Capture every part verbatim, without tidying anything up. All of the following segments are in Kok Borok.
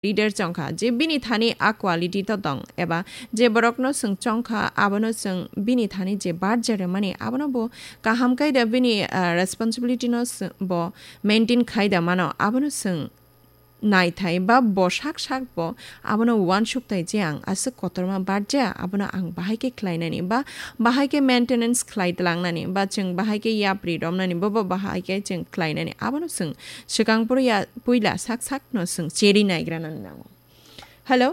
leader chongkha, je bini thani a quality to tong, eba je borokno chwng chongkha, abono chwng bini thani je barja rwmani, abono bo kaham khe da bini, ah, responsibility no chwng bo maintain khai da mano, abono chwng naithai ba bo sak sak bo abono uansuk tai je ang aswk kotorma barja, abono ang bahai khe khlainani ba bahai khe maintenance khlai tlangnani ba chwng bahai khe yapri romnani, bo bo bahai khe chwng khlainani, abono chwng swkang poro ya puila sak sak no chwng cheri naigra nani nango. Hello?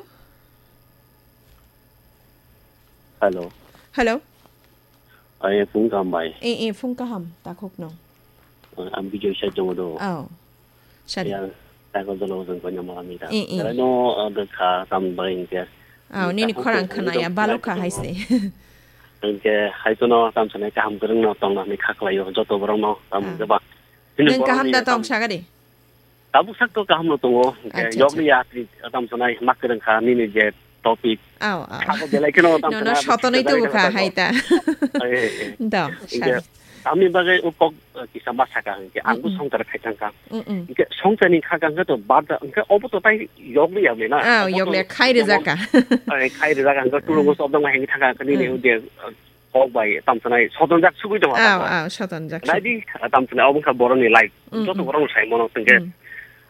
Hello. Hello? Ai, phung kaham bai. Eh, eh, phung kaham, takhuk no. Ang Bijoy sai tongo do. Oh. Sari. Ya, takhuk jolo jeng ko nyamala mi ta. Eh, eh. Tara no, ah, de kha tam bai ke. Oh, nini takhuk khorang jolo khana ya, jolo balu kha jolo. Hai se. Ang ke hai to no tam sanai kaham kwrwng no tong na ni kha khlai yo, joto borok no tam. Ah. Ke ba. Nwng kaham da tong sagadi? Tabuk sak to kaham no tongo. Acha, acha. Yok ni ya, tam sanai mak kwrwng kha nini je topic. Aw, aw. Sabo belai kheno tam sanai. No, no, sotonoi tubu kha hai ta. Ai, ai, ai. Do, sari. Ami bagai upok, eh, kisa ma saka hwnkhe, ang bo songchar khai thangkha. Mm, mm. Hwnkhe songchar ni kha kang khe to bada, hwnkhe obo to tai yok ni ya na. Aw, yok ni ya, khai rijak kha. Ai, khai rijak kha, hwnkhe tulungo sobdong hai thangkha, hwnkhe nini ude, eh, kok bai tam sanai sotonjak sugui tongo. Aw, aw, sotonjak sugui. Naidi, tam sanai obo wngkha borokni life. Mm, joto mm. Borokno sai mano tongkhe. Mm.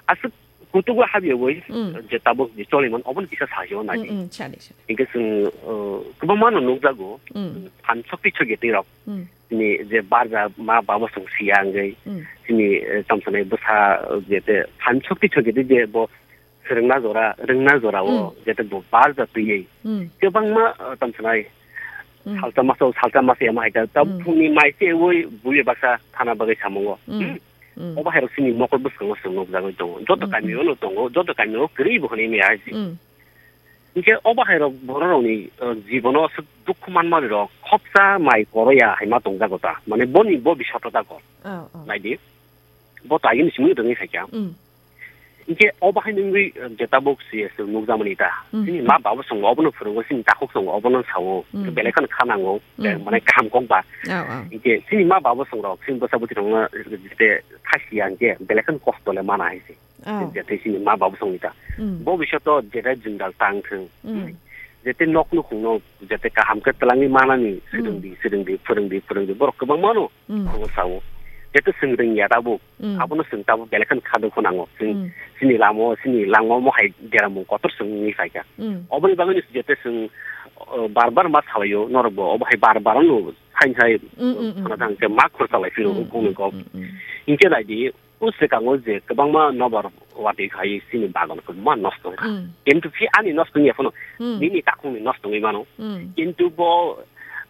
Aswk kutugo habiyogwi, mm. Je tabuk je choliman oboni kisa sayo naidi. Mm, mm, sadi, sadi. Hingke chwng, uh, kwbangma no nukjago. Mm. Phan sokti sokti rok. Mm. Ni je barja ma babo chwng siya hwngwi. Mm. Chini, eh, tam sanai bwsa, eh, je te phan sokti sokti je bo swrwngna jora, rwngna jora o, mm. Jete bo barja twiwi. Mm. Kwbangma, uh, tam sanai, mm. Salsa masa, salsa masa ya ma hai ta, ta mm. Phungni mai se woi buye baksa thana bagwi samungo. Mm. Hmm? Mm. Obo hai rok sini mokol bwskango chwng nukjagwi tongo. Joto mm, kami mm. O no tongo, joto kami o kwrwi bo hwnwi maya hai se. Mm. Hinkhe obo hai rok borok rokni, uh, jibono aswk dukhu manmani rok khopsa mai koro ya hai ma tongjago ta. Mane boni bo bisoto ta kor. Oh, oh. Naidi. Bo ta yini simi rwngwi khaikha. Mm. Hinkhe obo hai nungwi, eh, je tabuk si, eh, nukjakmani ta. Mm. Chini ma babo chwng obono phwrwngo, chini takhuk chwng obono sao. Mm. Belai kheno kha nango, eh, mm, mane kaham kok ba. Oh, oh. Hinkhe chini ma babo chwng rok, chini bwsa bwtwi rokno, eh, jete khasiya hinkhe belai kheno kosto le mana hai se. Oh. Jete chini ma babo chwngni ta. Mm. Bo bisoto jete jwngjal tang thwng. Mm. Jete nok nukhungno jete kaham khe twlangwi manani, mm, swrwngdi, swrwngdi, phwrwngdi, phwrwngdi. Borok kwbangma no. Mm. Obo sao. Jete chwng rwngya tabuk. Mm. Abono chwng tabuk belai kheno kha dukhu nango. Chwng mm. Chini lama o, chini lama omo hai deramung kotor chwng wngwi phaikha. Mm. Oboni bagwino jete chwng, uh, bar bar ma salaio, norok bo obo hai bar bar no sai sai mm, mm, mm, sana thang khe ma khursa lai phiro mm, bumung kok. Mm, mm. Hinkhe naidi, o swkango je kwbangma nobar watwi khai chini bagan kwbangma nosto wngkha. Mm. Kintu phi ani nosto wngya phano, mm, nini takhukni nosto wngwi mano. Mm. Kintu bo,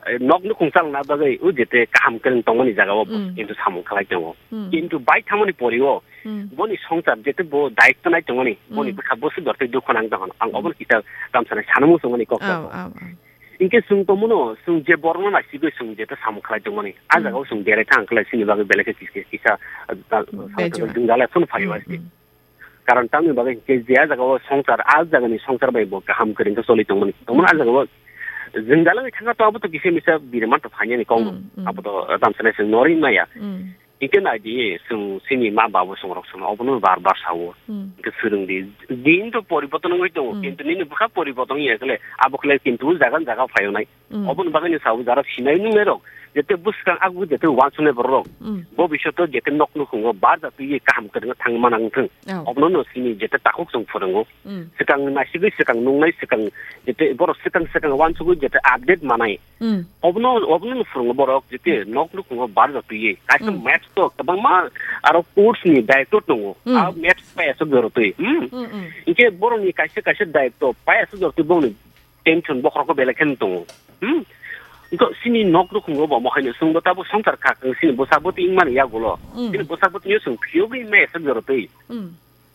eh, nok nukhung chalna bagwi o jete kaham kwrwng tongmani jagao bo mm. Kintu samung khlai tongo. Mm. Kintu bai thangmani pori o mm. Boni songchar jete bo daitto nai tongmani, mm, boni bwkha bwswk dortwi dukhu nang tongkha. Ang mm. Obono kisa tamsani sanamung tongmani kok oh, tongo. Oh, oh. Hinkhe chwng tongmano, chwng je borokno naisigwi chwng jete samung khlai tongmani. A mm. Jagao chwng berai thang khlai chini bagwi belai khe kis-, kis-, kisa, ah, ah, bejua. Jwngjal phano phaio mm, asti. Mm. Karon tamni bagwi hinkhe je a jagao songchar, a jagani songchar bai bo kaham kwrwng khe choli tongmani. Tongmani a jagao jwngjal wngwi thangkha to abo to kisa misa birman to phainani kok no. Mm, mm. Abo to, ah, tamsani chwng norwi maya. Mm. Hinkhe naidi, chwng chini ma babo chwng rok chwng obono bar bar sao. Hmm. Hinkhe swrwngdi. Din to poriborton wngwi tongo, hmm, kintu nini bwkha poriborton wngya khle, abo khle kintu jaga jaga phaio nai. Hmm. Oboni bagwino sao jara sinai nungnai rok, jete bwskang agwi jete uansuknai borok rok. Hmm. Bo bisoto jete nok nukhungo bar jatwi kaham kwrwngno thangwi manang thung. Oh. Obono no chini jete takhuk chwng phwrwngo. Hmm. Swkang naisigwi swkang nungnai swkang jete borok swkang swkang uansugwi jete update manai. Hmm. Obono, obono no phwrwngo borok, jete hmm nok nukhungo bar jatwi. Kaisa hmm maths to kwbangma aro course ni director tongo. Hmm. A maths pai aswk jorotwi. Hmm. Hmm, hmm. Hinkhe borokni kaisa, kaisa director pai aswk jorotwi bongni tension bokhorok belai khe tongo. Hmm. Hinkhe chini nok nukhungo bo mohai no chwngbo tabuk swngchar kha, chini bwsa bwtwi wngmani yagulo. Hmm. Chini bwsa bwtwi no chwng phiyogwi mai aswk jorotwi. Hmm.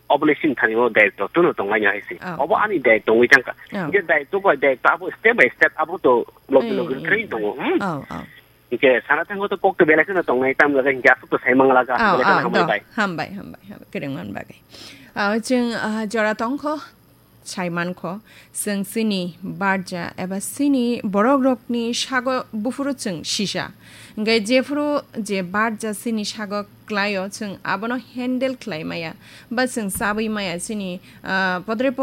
Obole sini thani o director tono tonglaina hai se. Oh. Obo ani director wngwi thangkha. Oh. Hinkhe director bai director abo step by step abo to logi logi eh, eh, train tongo. Hmm? Oh, oh. Hinkhe sana thango to kok to belai kheno tongnai tam jaga hinkhe aswk to sai mangla ka. Oh, belai kheno oh, hambai do. Bai. Hambai, hambai, hambai. Kwrwng man bagwi. Oh, chwng, ah, jora tongkho. Sai mankho, chwng chini barja eba chini borokrokni sago buphuru chwng sisa. Hwnkhe jephuru je barja chini sago klaio, chwng abono handle khlai maya, ba chwng chabwi maya chini, ah, podre por